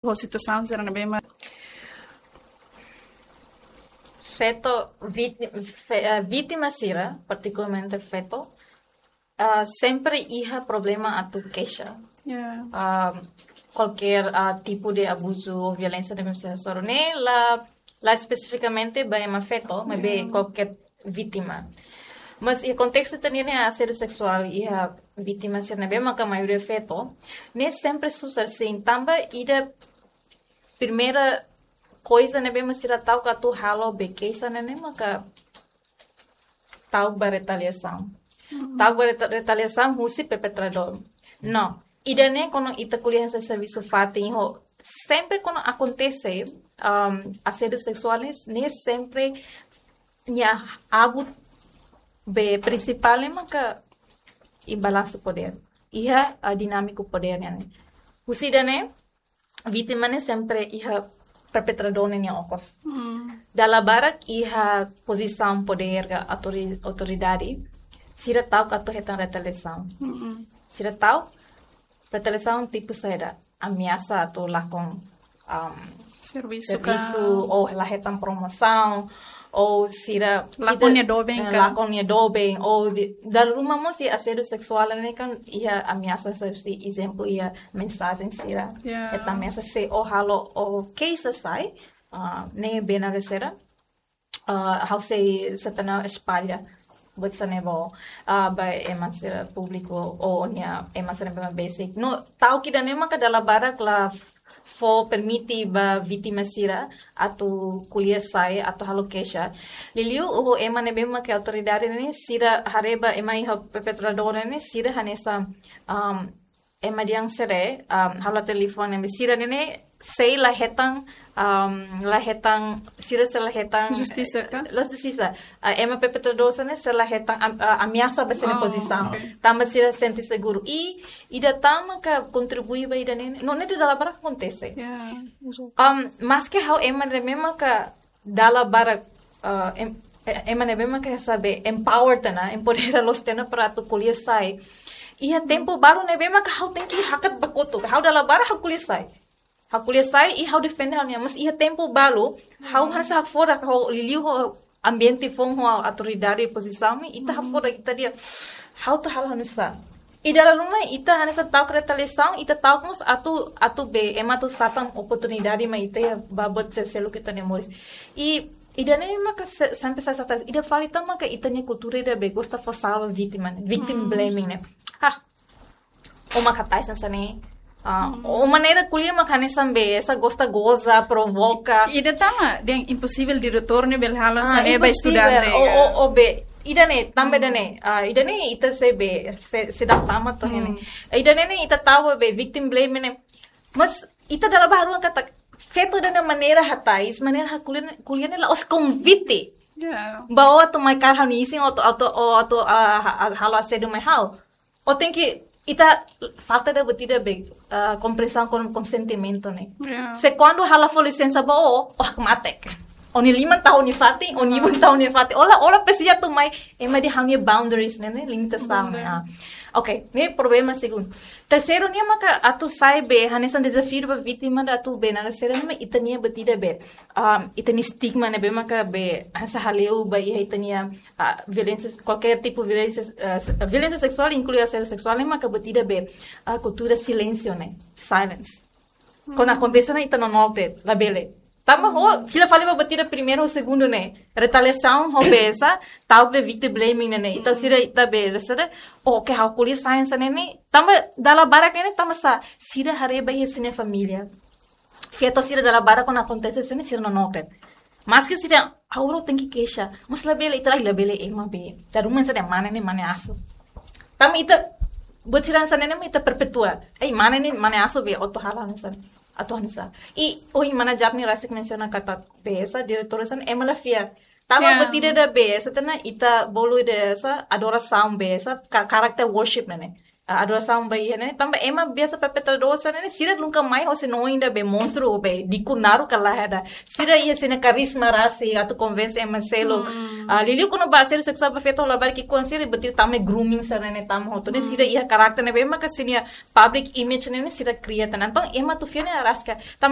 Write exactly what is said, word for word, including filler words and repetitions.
ho situasaun sira ne'ebé mak feto víti-, fe-, eh, vítima sira, partikularmente feto, ah, sempre iha problema atu keixa. Ya. Ah, kualkér, ah, tipu de abuzu ou violénsia ne'ebé mak sira hasoru ne'e la, la espesifikamente ba ema feto, maibé Ya. kualkér vítima. Mas iha kontestu ita-nia ne'e asédiu seksuál iha vítima sira ne'ebé maka maioria feto, ne'e sempre susar sin tanba ida primeira koiza ne'ebé mak sira ta'uk atu halo be keixa ne'e ne'e maka ta'uk ba retaliasaun. Ta'uk ba reta-, retaliasaun husi perpetradór. No, ida-ne'e kuandu ita ko'alia hanesan servisu fatin ho, sempre kuandu akontese, um, asédiu seksuál ne'e, ne'e sempre nia abu be prinsipál ne'e maka iha balansu podér. Iha, ah, dinámiku podér nian ne'e. Husi ida-ne'e, vítima ne'e sempre iha perpetradór ne'e nia okos. Hmm. Dala barak iha pozisaun podér ka autori-, autoridade, sira ta'uk atu hetan retaliasaun. Hmm. Sira ta'uk retaliasaun tipu saida, ameasa atu lakon, um, Servisu servisu ka. Ou la hetan promosaun, ou sira Lakon ita-, nia doben eh, ka. Lakon nia doben, ou di-, dala ruma mós iha asédiu seksuál ne'e kan iha ameasa, se, se ezemplu iha mensajen sira. Ya. Hetan ameasa se ó halo ó keixa sai, ah, ne'e bena resera. Ah, ha'u sei setana espalla buat sira-ne'e ba, ah, ba ema sira públiku ou nia ema sira ne'ebé besik. No, ta'uk ida-ne'e maka dala barak la fó permite ba vítima sira atu ko'alia sai, atu halo keixa. Liuliu ho ema ne'ebé maka autoridade ne'e, sira haree ba ema iha perpetradór ne'e, sira hanesan, um, ema dehan sede, um, halo telefone ne'e, sira ne'e sei la hetan, um, la hetan, sira sei la hetan Justisa ka? La justisa. Ah, ema perpetradór sira ne'e sei la hetan am-, ah, ameasa ba sira-nia Oh, pozisaun. Ok. Tanba sira sente seguru. I ida tan maka kontribui ba ida-ne'e, no, ne'e dala barak akontese. Ya, ezatu. Um, maske ha'u ema ne'ebé maka dala barak, ah, em-, eh, ema ne'ebé maka sabe empower tiha ona, empodera loos tiha ona para atu ko'alia sai. Iha tempu balu ne'ebé maka ha'u tenke hakat ba kotuk. Ha'u dala barak ha'u ko'alia sai. Ha'u ko'alia sai i ha'u defende ha'u-nia, mas iha tempu balu, ha'u Hmm. hanesan hakfodak, ha'u liuliu ho ambiente foun ho autoridade pozisaun ne'e, ita Hmm. hakfodak, ita dehan ha'u atu halo hanesan. I dala ruma ita hanesan ta'uk retaliasaun, ita ta'uk mós atu, atu be, ema atu satan oportunidade mai ita iha ba buat sel-, seluk ita-nia moris. I, ida-ne'e maka se-, sampai sa-, sa-, ida fali tan maka ita-nia kultura ida be gosta fó sala vítima ne'e, victim Hmm. blaming ne'e. Ah, ó mak hatais hanesan ne'e. Ah, Hmm. ó maneira ko'alia mak hanesan be, hanesan gosta goza, provoka. Ida tan mak, dehan imposivel diretór ne'e bele halo Ah, hanesan ne'e ba imposivel. Estudante. Ó, ka? Ó, ó be, ida-ne'e, tanba Hmm. ida-ne'e. Ah, ida-ne'e ita sei be, sei, sei dá tama to Hmm. ne'e. Ida-ne'e ne'e ita ta'uk be, victim blame ne'e. Mas ita dala barak haruka katak, feto ida-ne'e maneira hatais, maneira ha'u ko'alia ne'e, ko'alia ne'e la'ós konvite. Ya. Ba ó atu mai kaer ha'u-nia isin, ó atu, atu, ó atu, ah, ha-, ha-, halo asédiu mai ha'u. Ó tenke, ita falta ida buat ida be, ah, komprensaun ho konsentimentu ne'e. Ya. Se kuandu ha'u la fó lisensa ba ó, ó hakmatek. Ó-nia liman tau ó-nia fatin, ó-nia ibun tau ó-nia fatin. Ó la, ó la presiza atu mai, ema dehan ha'u-nia boundaries ne'e, ne'e, limitasaun ne'e. Boundary. Ah. Ok, ne'e problema segundu. Terseiru nian maka atu sai be, hanesan dezafiu ba vítima atu be, naran sira ne'e mak ita-nia buat ida be. Um, ita-nia estigma ne'ebé maka be, hanesan hale'u ba iha ita-nia, ah, violénsia, kualkér tipu violénsia, ah, se-, violénsia seksuál, inklui asédiu seksuál, ne'e maka buat ida be, ah, kultura silénsiu ne'e, silence. Kuandu akontese ona ita nonook de'it, labele. Tanba ó fila fali ba buat ida primeiru, segundu ne'e. Retaliasaun ho be hanesan, ta'uk de'it victim blaming ne'e ne'e. Entaun sira ita be, sira, oke, ha'u ko'alia sai hanesan ne'e ne'e. Tanba dala barak ne'e ne'e, tanba sá, sira haree ba iha sira-nia família. Feto sira dala barak kuandu akontese hanesan ne'e sira nonook de'it. Maske sira, ha'u tenke keixa. Mas labele, ita la, labele ema be. Dala ruma hanesan ne'e mane ne'e mane asu. Tanba ita, buat sira hanesan ne'e mak ita perpetua. Ei, mane ne'e mane asu be, ó atu halo hanesan ne'e. Atu hanesan. I, oh, mana Japni rasik mensiona katak be hanesan, diretór hanesan ne'e, ema la fiar. Tanba Ya. buat ida be hanesan, tiha ona ita bolu ida hanesan, adorasaun be hanesan, ka-, character worship ne'e ne'e. ah, adorasaun ba iha ne'e. Tanba ema biasa perpetradór sira ne'e, sira nunka mai hosi no inda be monstru be diku naruk ka lae ida. Sira iha sira-nia karisma rasik atu konvense ema seluk. Ah, liuliu kuandu ba asédiu seksuál ba feto labarik ki'ik-oan, sira buat ida tama grooming sira ne'e tama hotu. Ne'e sira iha karakter ne'ebé maka sira-nia public image ne'e sira kria tan. Entaun ema atu fiar ne'e araska. Tanba